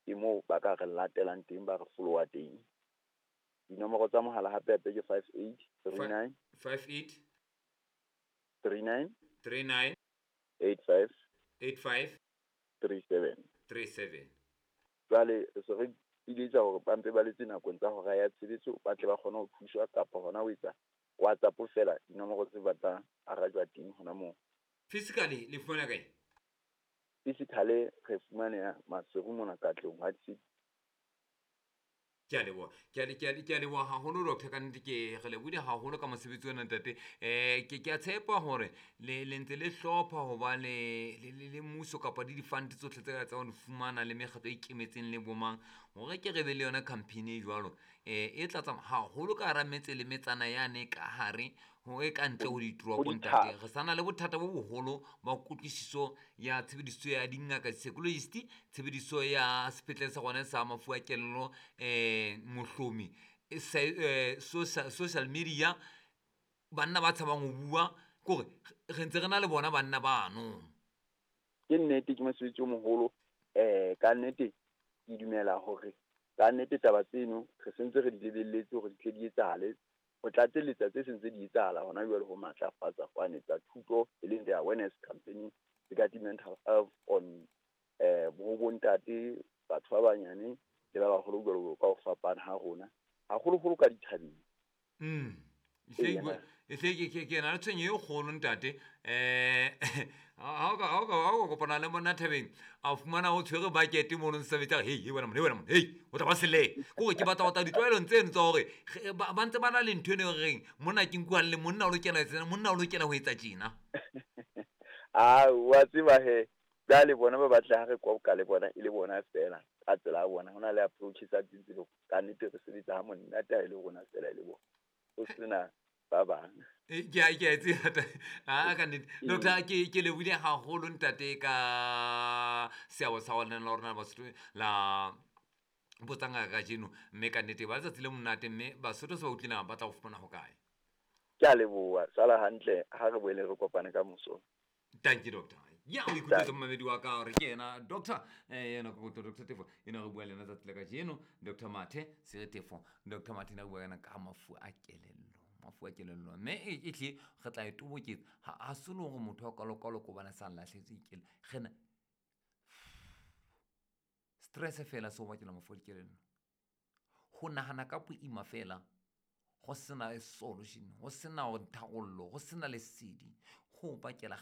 Ke moo ba ka re latelang teng, ba re followa teng. Dinomoro tsa mohala hape hape ke 58 39 58 39 39 85 85 37. 37. Jwale re se re iletsa hore ba mpe ba letse nakong tsa hora ya tshebetso, ba tle ba kgone ho thuswa kapa hona ho etsa WhatsApp fela, dinomoro tse ba tla arajwa teng hona moo. Physically le fumana kae? Physically re fumaneha Maseru mona, Katlehong, White City. Ke a leboha, ke a leboha haholo, doctor. Ka nnete ke re lebohile haholo ka mosebetsi ona, ntate. Ke a tshepa hore le ntse le hlopha ho ba le mmuso kapa le di-fund tsohle tse ka tsang ho di fumana le mekgatlo e ikemetseng le bomang, hore ke re be le yona campaign e jwalo e tla tsamaya haholo ka hara metse le metsana yane ka hare ho e ka ntle ho ditoropo. Ntate, re sa na le bothata bo boholo ba kutlwisiso ya tshebediso ya dingaka, psychologist, tshebediso ya sepetlele sa rona sa mafu a kelello, mohlomi social media, banna ba tshabang ho bua kore re ntse re na le bona banna bano. Ke nnete, ke mosebetsi o moholo. Ka nnete ke dumela hore ka nnete taba tseno re sentse re di lebelletse hore di tle di etsahale, ho tlatselletsa tse sentse di etsahala hona jwale, ho matlafatsa kwane tsa thuto, e leng the awareness campaign regarding mental health on bo bontate, batho ba banyane le ba baholo, jwalo ka ho fapana ha rona, haholoholo ka dithabeng. Ehlile ke na le tshwenyo e kgolo, ntate. Ha o ka kopana le monna thabeng, a fumana o tshwere bucket mono, ntse a hei, wena monna, hei, wena monna, hei, o tla ba sele kore ke batla ho tla ditlwaelong tseno tsa hore ba ntse ba na le ntho eno e reng monna ke nkuang le monna o lokela ho etsa, monna o lokela ho etsa tjena. A wa tseba he, jwale bona ba batla ha re koka le bona e le bona fela ka tsela ya bona. Ho na le approach tsa teng tse ka nnete re sebetsa ha monate ha e le rona fela, e le bona, ho sena ba bang. Ke a e tseba a ka nnete. Doctor, ke lebohile haholo, ntate, ka seabo sa gona la rona Basotho la botsa ngaka kajeno, mme ka nnete ba letsatsi le monate, mme Basotho se ba utlwile ba tla go fumana ho kae? Ke a leboha, sala hantle, ha re boele re kopane ka moso. Thank you, doctor. Ya o ikutlwetse, momamedi wa ka, gore ke ena doctor ena kokoto, Doctor Tefo ena re bua le ena tsatsi la kajeno, Dr Mathe Sere Tefo. Dr Mathe ena re bua ka ena ka mafu a kelello, mafu a kelello, mme e tlile re tla e toboketsa ha se le hore motho wa kalokalo ko bana sa lahletswe ke re na stress fela se o bakela mafu a dikelello, ho nahana ka boima fela go sena solution, go sena tharollo, go sena lesedi, go bakela.